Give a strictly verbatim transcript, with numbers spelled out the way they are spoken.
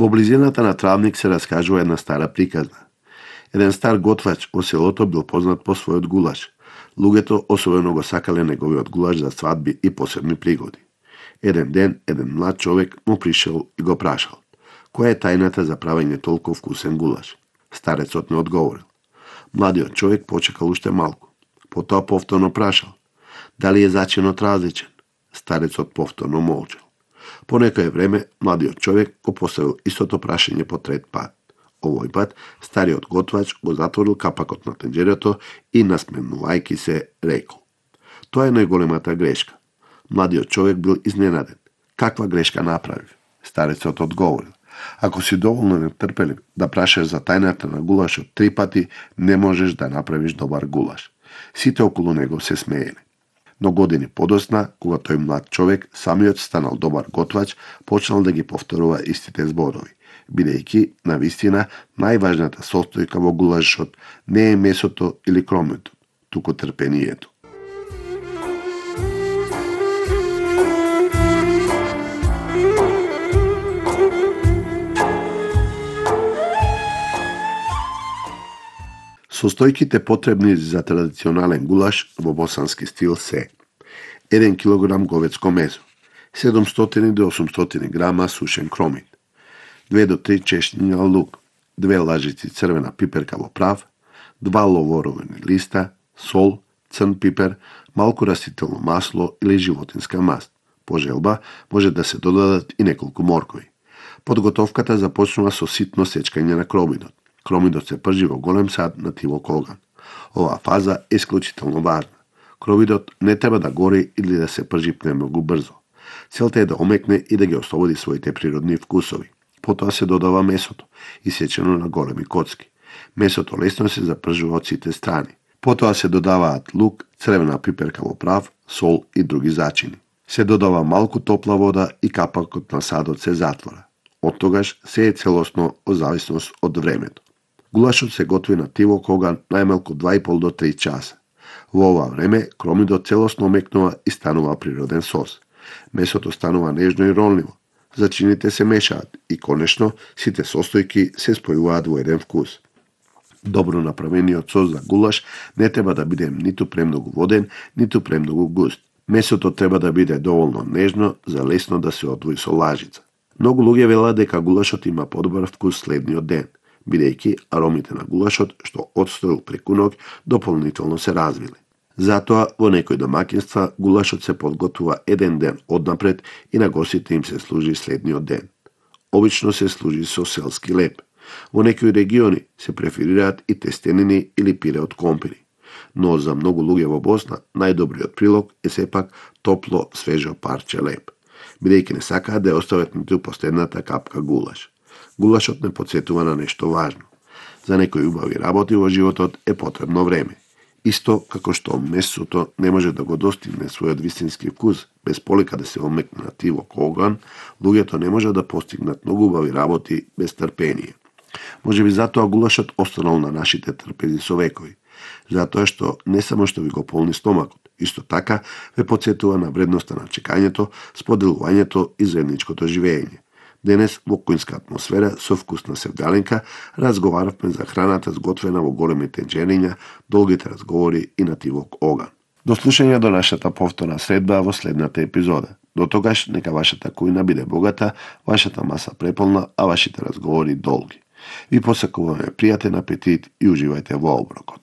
Во близината на Травник се раскажува една стара приказна. Еден стар готвач во селото бил познат по својот гулаш. Луѓето особено го сакале неговиот гулаш за свадби и посебни пригоди. Еден ден, еден млад човек му пришел и го прашал: која е тајната за правење толку вкусен гулаш? Старецот не одговорил. Младиот човек почекал уште малку. Потоа повторно прашал: дали е зачинот различен? Старецот повторно молчал. По некое време, младиот човек го поставил истото прашање по трет пат. Овој пат, стариот готвач го затворил капакот на тенџерето и, насмевнувајќи се, рекол: тоа е најголемата грешка. Младиот човек бил изненаден. Каква грешка направив? Старецот одговорил: ако си доволно нетрпелив да прашаш за тајната на гулашот три пати, не можеш да направиш добар гулаш. Сите околу него се смееле. Но години подосна, кога тој млад човек самиот станал добар готвач, почнал да ги повторува истите зборови, бидејќи, навистина, најважната состојка во гулашот не е месото или кромето, туку трпението. Состојките потребни за традиционален гулаш во босански стил се: еден килограм говецко месо, седумстотини до осумстотини грама сушен кромит, две до три чешњи лук, две лажици црвена пиперка во прав, два ловоровени листа, сол, црн пипер, малку растително масло или животинска маст. По желба може да се додадат и неколку моркови. Подготовката започнува со ситно сечкање на кромидот. Кромидот се пржи во голем сад на тивок оган. Оваа фаза е исклучително важна. Кромидот не треба да гори или да се пржи премногу брзо. Целта е да омекне и да ги ослободи своите природни вкусови. Потоа се додава месото, исечено на големи коцки. Месото лесно се запржува од сите страни. Потоа се додаваат лук, црвена пиперка во прав, сол и други зачини. Се додава малку топла вода и капакот на садот се затвора. Оттогаш се е целосно од зависност од времето. Гулашот се готви на тивок оган најмалку два и пол до три часа. Во ова време кромидот целосно омекнува и станува природен сос. Месото станува нежно и ронливо. Зачините се мешаат и конечно сите состојки се спојуваат во еден вкус. Добро направениот сос за гулаш не треба да биде ниту премногу воден, ниту премногу густ. Месото треба да биде доволно нежно за лесно да се одвои со лажица. Многу луѓе велат дека гулашот има подобар вкус следниот ден, бидејќи аромите на гулашот што одстоил преку ноќ дополнително се развиле. Затоа во некои домаќинства гулашот се подготвува еден ден однапред и на гостите им се служи следниот ден. Обично се служи со селски леп. Во некои региони се преферираат и тестенини или пире од компири. Но за многу луѓе во Босна најдобриот прилог е сепак топло, свежо парче леп, бидејќи не сакаат да ја остават ниту последната капка гулаш. Гулашот не потсетува на нешто важно. За некои убави работи во животот е потребно време. Исто како што месото не може да го достигне својот вистински вкус без полека да се омекне на тивок оган, луѓето не може да постигнат многу убави работи без трпение. Можеби затоа гулашот останал на нашите трпези со векови. Затоа што не само што ви го полни стомакот, исто така ве потсетува на вредноста на чекањето, споделувањето и заедничкото живење. Денес во кујнска атмосфера со вкусна севдаленка разговаравме за храната сготвена во големи тенџериња, долгите разговори и на тивок оган. До слушање до нашата повторна средба во следната епизода. До тогаш нека вашата кујна биде богата, вашата маса преполна, а вашите разговори долги. Ви посакуваме пријатен апетит и уживајте во оброкот.